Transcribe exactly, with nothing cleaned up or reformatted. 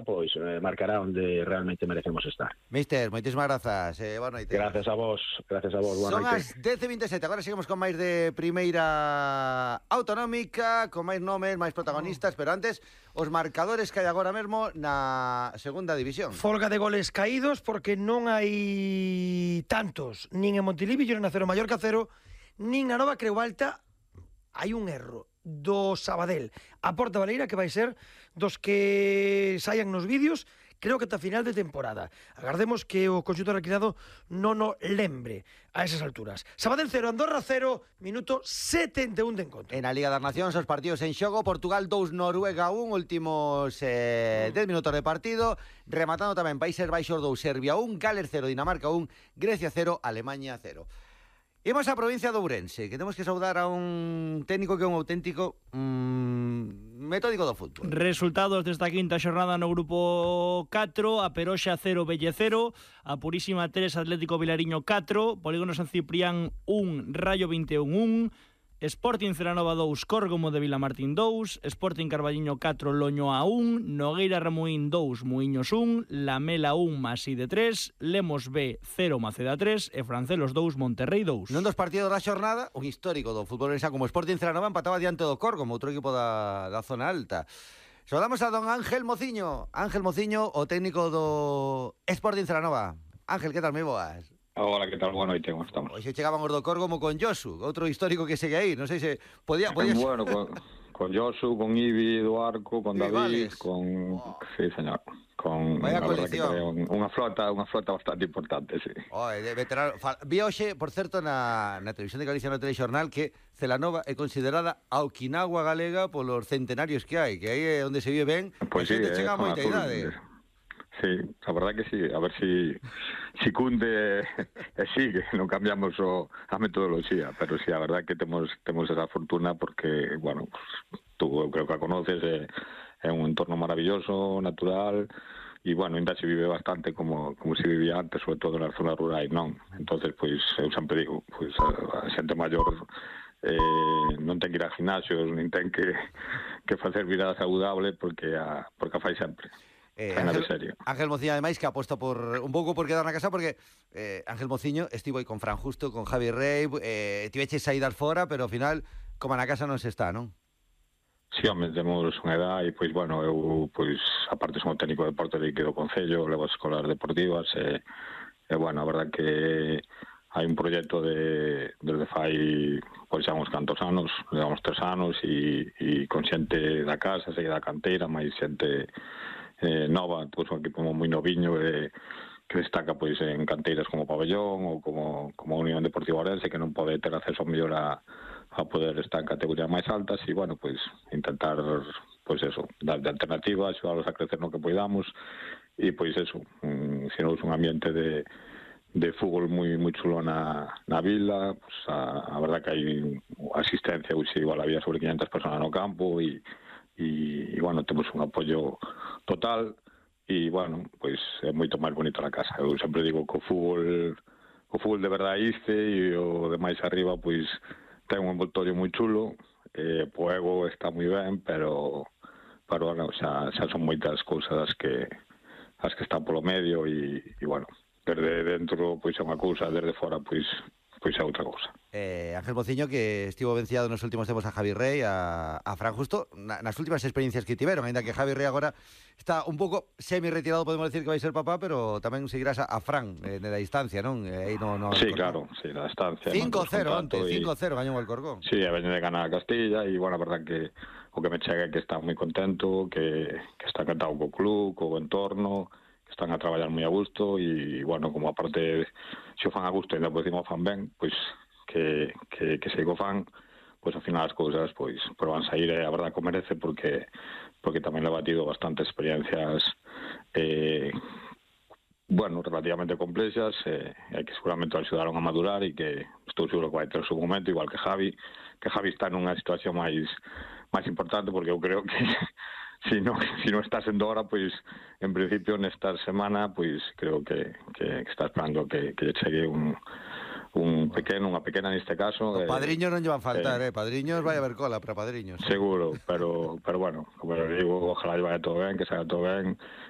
pois eh, marcará onde realmente merecemos estar. Mister, moitísimas grazas. Eh, boa noite. Gracias a vos, gracias a vos, boa Son noite. as dez e vinte e sete, agora seguimos con máis de primeira autonómica, con máis nomes, máis protagonistas, pero antes, os marcadores que hai agora mesmo na segunda división. Folga de goles caídos porque non hai tantos, nin en Montilivi, nin na Cero Mallorca cero, nin na Nova Creu Alta. Hai un erro do Sabadell a Porta Baleira que vai ser dos que saian nos vídeos, creo que ata final de temporada. Agardemos que o conxunto reclinado non o lembre a esas alturas. Sabadell cero, Andorra cero, minuto setenta e un de encontro. En a Liga das Nacións, os partidos en xogo, Portugal dous, Noruega un, últimos eh, dez minutos de partido, rematando tamén Países Baixos dous, Serbia un, Gales cero, Dinamarca un, Grecia cero, Alemania cero. Imos á provincia de Ourense, que temos que saudar a un técnico que é un auténtico mmm, metódico do fútbol. Resultados desta quinta xornada no grupo catro, a Peroxa cero, Velle cero, a Purísima tres, Atlético Vilariño catro, Polígono San Ciprián un, Rayo vinte e un un, Sporting Celanova dous, Córgomo de Vilamartín dous, Sporting Carballiño catro, Loñoa un, Nogueira Ramuín dous, Muiños un, Lamela un, Maside tres, Lemos B cero, Maceda tres e Francelos dous, Monterrey dous. Non dos partidos da xornada, un histórico do fútbol orense como Sporting Celanova empataba diante do Córgomo, outro equipo da, da zona alta. Saudamos a don Ángel Mociño, Ángel Mociño, o técnico do Sporting Celanova. Ángel, que tal, moi boas? Hola, que tal? Boa noite, como estamos? Hoxe chegaban os do Córgomo con Josu, outro histórico que segue aí, non sei se podía... podía... Bueno, con, con Josu, con Ibi do Arco, con David, Vales. con... Oh. Sí, señor. Con Vaya a verdad que coalición. creo, unha flota, unha flota bastante importante, sí. Oh, de veterano. Vi hoxe, por certo, na, na televisión de Galicia no telexornal que Celanova é considerada a Okinawa galega polos centenarios que hai, que aí é onde se vive ben, Pois e sí, xente chega a zona moita sur, idade. Sí, a verdad que sí, a ver si si cunde e sigue, non cambiamos o, a metodoloxía, pero sí, a verdad que temos temos esa fortuna porque, bueno, pues, tú eu creo que a conoces, é, é un entorno maravilloso, natural, e, bueno, ainda se vive bastante como, como se vivía antes, sobre todo nas zonas rurais, non? Entonces, pois, eu sempre digo, pois, a, a xente maior eh, non ten que ir a gimnasios, nin ten que, que facer vida saudable porque a, porque a fai sempre. Eh, Ángel, Ángel, Ángel Mociño, ademais, que aposta por un pouco por quedar na casa, porque eh, Ángel Mociño estivo aí con Fran Justo, con Javi Rey, eh, tiveches saídas fora, pero ao final, como na casa non se está, non? Sí, home, temos unha edad e, pois, bueno, eu, pois, aparte son técnico de deporte de do Concello, levo as escolas deportivas e, e, bueno, a verdad que hai un proxecto de, desde fai, pois, xa uns cantos anos, levamos tres anos e, e con xente da casa, sei da canteira, máis xente eh, nova, pois un equipo moi noviño e que destaca pois en canteiras como Pabellón ou como, como a Unión Deportiva Ourense, que non pode ter acceso mellor a, a poder estar en categorías máis altas e, bueno, pois intentar, pois eso, dar de alternativa, axudarlos a crecer no que poidamos e, pois eso, um, xeros un ambiente de de fútbol moi moi chulo na, na vila, pues a, a verdad que hai asistencia, pois igual había sobre quinhentas personas no campo e e, e bueno, temos un apoio total e, bueno, pois é moito máis bonito na casa. Eu sempre digo que o fútbol o fútbol de verdade iste e o de máis arriba, pois ten un envoltorio moi chulo, e o ego está moi ben, pero pero, bueno, xa, xa son moitas cousas as que as que están polo medio e, e bueno, desde dentro pois é unha cousa, desde fora pois pois é outra cousa. Eh, Ángel Mociño, que estivo venciado nos últimos tempos a Javi Rey, a, a Fran Justo, na, nas últimas experiencias que tiveron, ainda que Javi Rey agora está un pouco semi-retirado, podemos decir que vai ser papá, pero tamén seguirás a, a Fran eh, da distancia, non? Eh, aí no, no sí, claro, sí, na distancia. cinco cero no, onte, cinco cero gañou o Alcorcón. Sí, a veñe de ganar a Castilla e, bueno, a verdad que o que me chega é que está moi contento, que, que está encantado co club, co entorno, que están a traballar moi a gusto e, bueno, como aparte se o fan a gusto e ainda por cima o fan ben, pois que, que, que se o fan, pois ao final as cousas pois, pois van sair, e a verdad que o merece porque porque tamén le ha batido bastantes experiencias eh, bueno, relativamente complexas e eh, que seguramente o axudaron a madurar e que estou seguro que vai ter o seu momento, igual que Javi, que Javi está nunha situación máis máis importante porque eu creo que si non si non está sendo ahora, pois en principio nesta semana pois creo que, que, que está esperando que, que lle chegue un un pequeno, unha pequena neste caso. Os padriños eh, non lle van faltar, eh, eh padriños vai haber cola para padriños. Seguro, pero pero bueno, como eu digo, ojalá lle vaya todo ben, que salga todo ben,